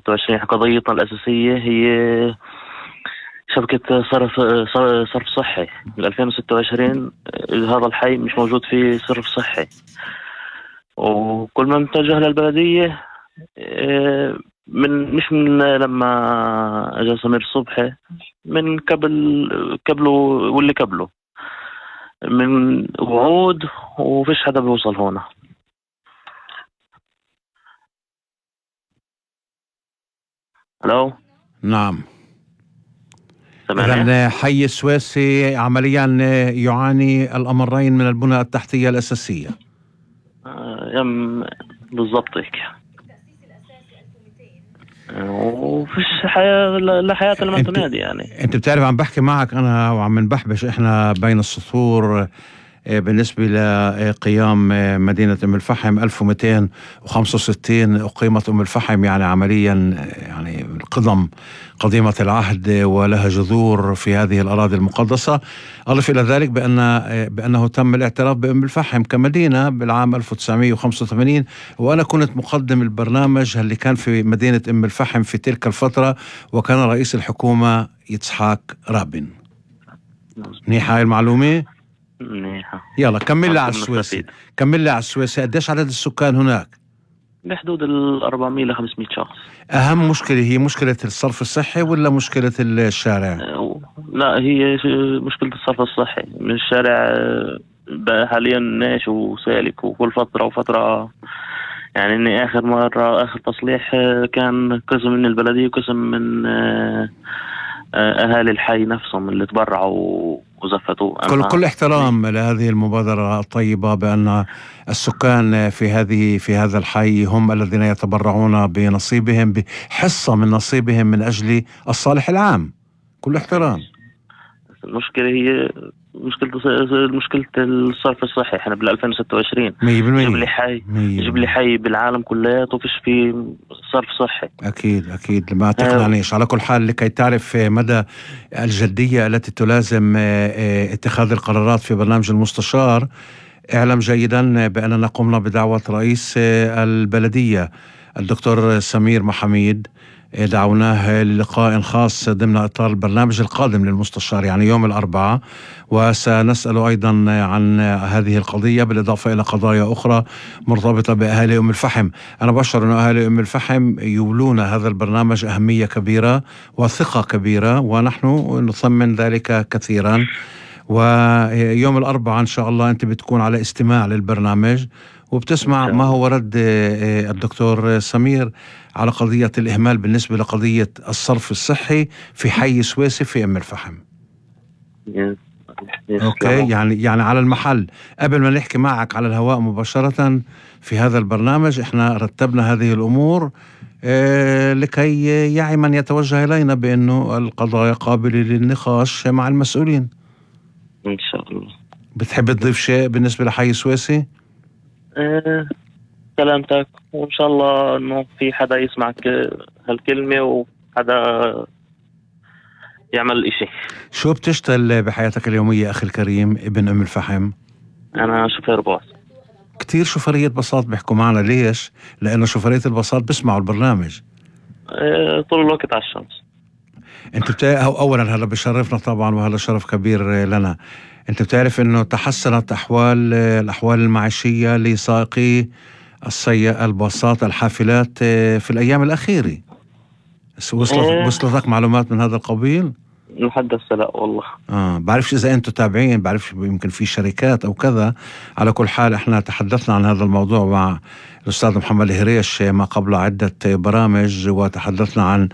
2026 قضيتنا الأساسية هي شبكة صرف صحي. 2026 هذا الحي مش موجود فيه صرف صحي، وكل ما متجه للبلدية مش من لما اجى سمير صبحي، من قبله واللي قبله، من وعود وفيش حدا بيوصل هنا. الو، نعم. سمعني؟ إذن حي السويسي عمليا يعاني الأمرين من البنى التحتية الأساسية. بالضبط هيك. وفيش حياة لا حياة لمن تنادي يعني. انت بتعرف عم بحكي معك انا وعم نبحبش احنا بين السطور بالنسبة لقيام مدينة أم الفحم. 1265 أقيمت أم الفحم، يعني عمليا يعني قديمة العهد ولها جذور في هذه الأراضي المقدسة. أضف إلى ذلك بأنه تم الاعتراف بأم الفحم كمدينة بالعام 1985، وأنا كنت مقدم البرنامج اللي كان في مدينة أم الفحم في تلك الفترة، وكان رئيس الحكومة يتسحاق رابين. منيحة هاي المعلومة؟ منيحة. يلا كمل لي على السويسي. على السويسي قديش عدد السكان هناك؟ بحدود 400 ل 500 شخص. أهم مشكلة هي مشكلة الصرف الصحي ولا مشكلة الشارع؟ لا، هي مشكلة الصرف الصحي. من الشارع بقى حاليا ناش وسالك، وكل فترة وفترة يعني. إني آخر تصليح كان قسم من البلدية وقسم من أهالي الحي نفسهم اللي تبرعوا وزفتوا. كل احترام لهذه المبادرة الطيبة، بأن السكان في هذا الحي هم الذين يتبرعون بنصيبهم، بحصة من نصيبهم من أجل الصالح العام. كل احترام. المشكلة هي مشكلة الصرف الصحي. احنا بال 2026 جيب لي حي بالعالم كلياته فيش فيه صرف صحي. أكيد ما تقنعنيش. على كل حال، لكي تعرف مدى الجدية التي تلازم اتخاذ القرارات في برنامج المستشار، اعلم جيدا بأننا قمنا بدعوة رئيس البلدية الدكتور سمير محميد. دعوناه للقاء خاص ضمن إطار البرنامج القادم للمستشار، يعني يوم الأربعاء، وسنسأله أيضا عن هذه القضية بالإضافة إلى قضايا أخرى مرتبطة بأهالي أم الفحم. أنا بشعر أن أهالي أم الفحم يولون هذا البرنامج أهمية كبيرة وثقة كبيرة، ونحن نثمن ذلك كثيرا. ويوم الأربعاء إن شاء الله أنت بتكون على استماع للبرنامج وبتسمع ما هو رد الدكتور سمير على قضية الإهمال بالنسبة لقضية الصرف الصحي في حي سويسي في أم الفحم. أوكي، يعني على المحل. قبل ما نحكي معك على الهواء مباشرة في هذا البرنامج، إحنا رتبنا هذه الأمور لكي يعي من يتوجه إلينا بأنه القضايا قابلة للنقاش مع المسؤولين إن شاء الله. بتحب تضيف شيء بالنسبة لحي سويسي؟ سلامتك، وإن شاء الله إنه في حدا يسمعك هالكلمة وحدا يعمل إشي. شو بتشتغل بحياتك اليومية أخي الكريم ابن أم الفحم؟ أنا شوفير باص. كتير شوفرية باصات بيحكوا معنا. ليش؟ لأنه شوفرية الباصات بسمعوا البرنامج طول الوقت على الشمس. أنت أولا هذا بشرفنا طبعا، وهذا شرف كبير لنا. أنت بتعرف أنه تحسنت الأحوال المعيشية لسائقي الباصات الحافلات في الأيام الأخيرة. وصلتك معلومات من هذا القبيل؟ لحد هسه لا والله. بعرفش إذا أنتوا تابعين، بعرفش يمكن في شركات أو كذا. على كل حال إحنا تحدثنا عن هذا الموضوع مع الأستاذ محمد هريش ما قبل عدة برامج، وتحدثنا عن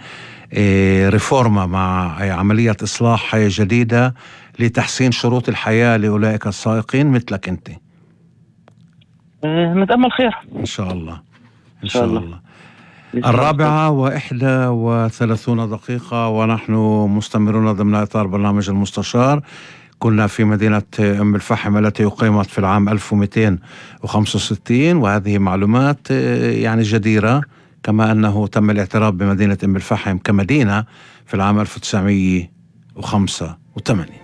ريفورما مع عملية إصلاح جديدة لتحسين شروط الحياة لأولئك السائقين مثلك أنت. نتأمل خير إن شاء الله. 4:31 ونحن مستمرون ضمن إطار برنامج المستشار. كنا في مدينة أم الفحم التي أقيمت في العام 1265، وهذه معلومات يعني جديرة، كما أنه تم الاعتراف بمدينة أم الفحم كمدينة في العام 1985.